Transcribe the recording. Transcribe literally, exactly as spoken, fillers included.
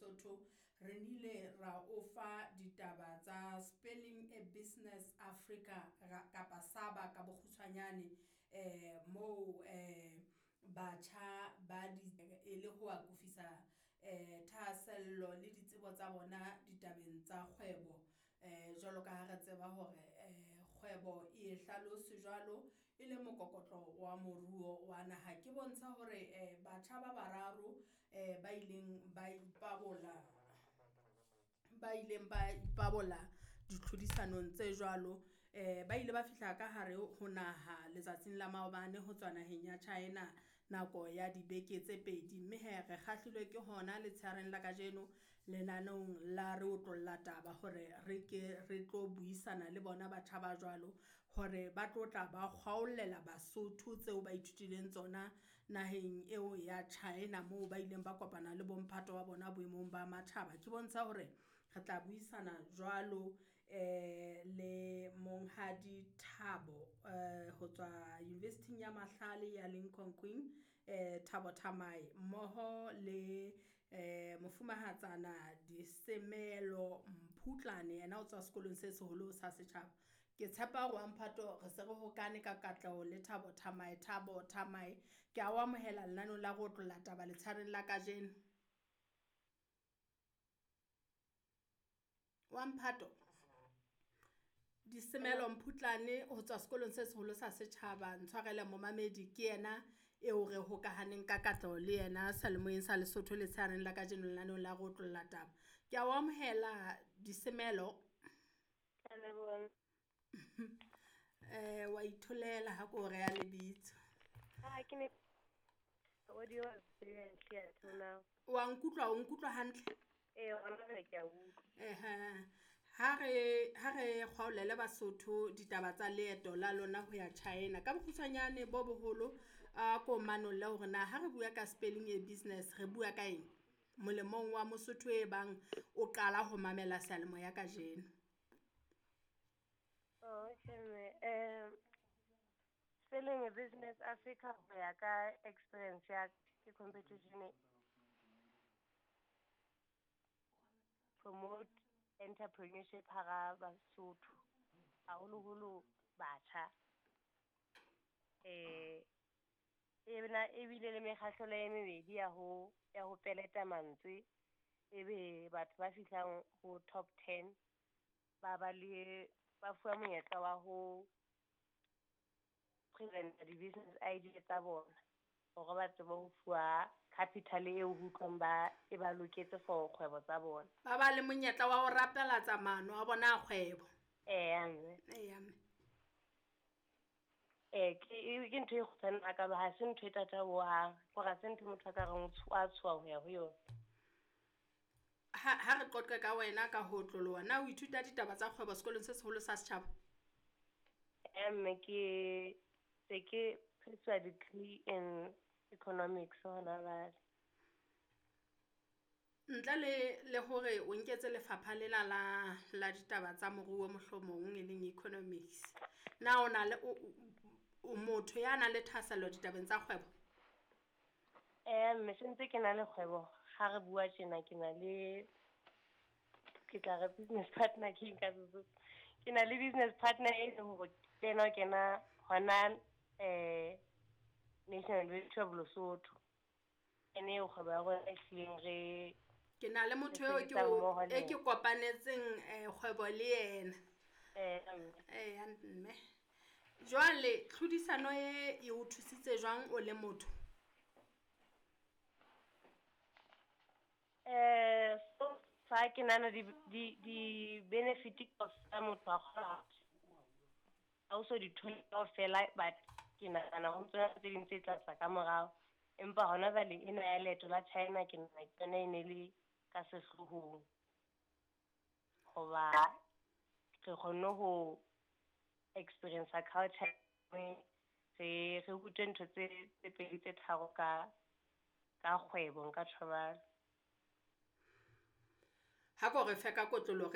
Lesotho re nile ra o fa ditaba tsa Spelling a Business Africa kapa SABA ka bokgutshwanyane eh moo eh batjha ba di e le ho akofisa eh thahasello le ditsebo tsa bona ditabeng tsa kgwebo. Eh jwalo ka ha re tseba hore eh kgwebo e hlalose jwalo e le mokokotlo wa moruo wa naha. Ke bontsha hore eh batjha ba bararo eh ba ileng ba ipabola ba ileng ba ipabola ditlhodisanong tse jwalo eh ba ile ba fihla ka hare ho naha letsatsing la maobane ho tswa naheng ya China nako ya dibeke tse pedi. Mme hee re kgahlilwe ke hona letshehareng la kajeno lenaneong la re otlolla taba hore re ke re tlo buisana le bona batjha ba jwalo hore ba tlo tla ba kgwaollela Basotho tseo ba ithutileng tsona naheng eo ya China moo ba ileng ba kopana le bomphato wa bona boemong ba matjhaba. Ke bontsha hore re tla buisana jwalo eh le Monghadi Thabo eh ho tswa University ya Mahlale ya Limkokwing eh Thabo Thamae mmoho le eh mofumahatsana Disemelo Mphutlane yena o tswa sekolong se seholo sa setjhaba. Ke tshepa hore wa mphato re se re hokane ka katleho le Thabo Thamae. Thabo Thamae, ke a o amohela lenaneong la re otlolla taba letshehareng la kajeno. Wa mphato Disemelo Mphutlane ho tswa sekolong se seholo sa setjhaba, ntshwarele momamedi ke yena eo re hokahaneng ka katleho le yena seyalemoyeng sa Lesotho letshehareng la kajeno lenaneong la re otlolla taba. Ke a o amohela Disemelo. Ke a leboha. Eh wa itholela ha ko reha lebitso. Ah, ke ne audio was very unclear till now. Wa nkutlwa, o nkutlwa hantle? Eh, hona jwale ke a utlwa. Ehe. Ha re ha re kgwaolele Basotho ditaba tsa leeto la lona ho ya China ka bokgutshwanyane bo boholo a ko manolle hore na ha re bua ka spelling a business re bua ka eng molemong wa Mosotho e bang o qala ho mamela seyalemoya kajeno. Oh, okay, mme. Um, Spelling a Business Africa ho ya ka experience ya ke competition promote entrepreneurship hara Basotho, haholoholo batjha. Eh, e na ebile le mekgahlelo e mebedi ya ho ya ho peleta mantswe, ebe batho ba fihlang ho top ten ba ba le ba fuwa monyetla wa ho present di-business idea tsa bona hore ba tsebe ho fuwa capital eo ho utlwang ba e ba loketse for kgwebo tsa bona. Ba ba le monyetla wa ho rapelatsa maano a bona a kgwebo. Eya mme. Eya mme. Eh ke ke ntho e kgutshwane hakalo, ha se ntho e thata hohang, hore ha se ntho motho a ka reng o a tshoha ho ya ho yona. Ha ha re qoqe ka wena ka ho otloloha, na o ithuta ditaba tsa kgwebo sekolong se seholo sa setjhaba? Eh mme ke se ke pursue degree in economics hona jwale. Ntle le le hore o nketse lefapha lena la la ditaba tsa moruo mohlomong e leng economics. Na o na le o motho ya nang le thahasello ditabeng tsa kgwebo? Eh mme sentse ke na le kgwebo, ha re bua tjena ke na le ke tla re business partner ke eng ka Sesotho. Ke na le business partner e leng hore ke yena o kena hona eh National University of Lesotho. Ene eo kgwebo ya rona e hlileng re Ke na le motho eo ke o e ke kopanetseng eh kgwebo le yena. Eh mme. Eya mme. Jwale tlhodisano e e o thusitse jwang o le motho? Eh so fa ke nahana di di di benefit tsa motho a kgona ha o so di thole kaofela, but ke nahana ho ntso tse ding tse tla tla ka morao. Empa hona jwale ena ya leeto la China ke nahana ke yona e ne le ka sehlohong. Hoba re kgonne ho experience culture re re rutwe ntho tse tse pedi tse tharo ka ka kgwebo nka tjho jwalo. Ha ko re fe ka kotloloho re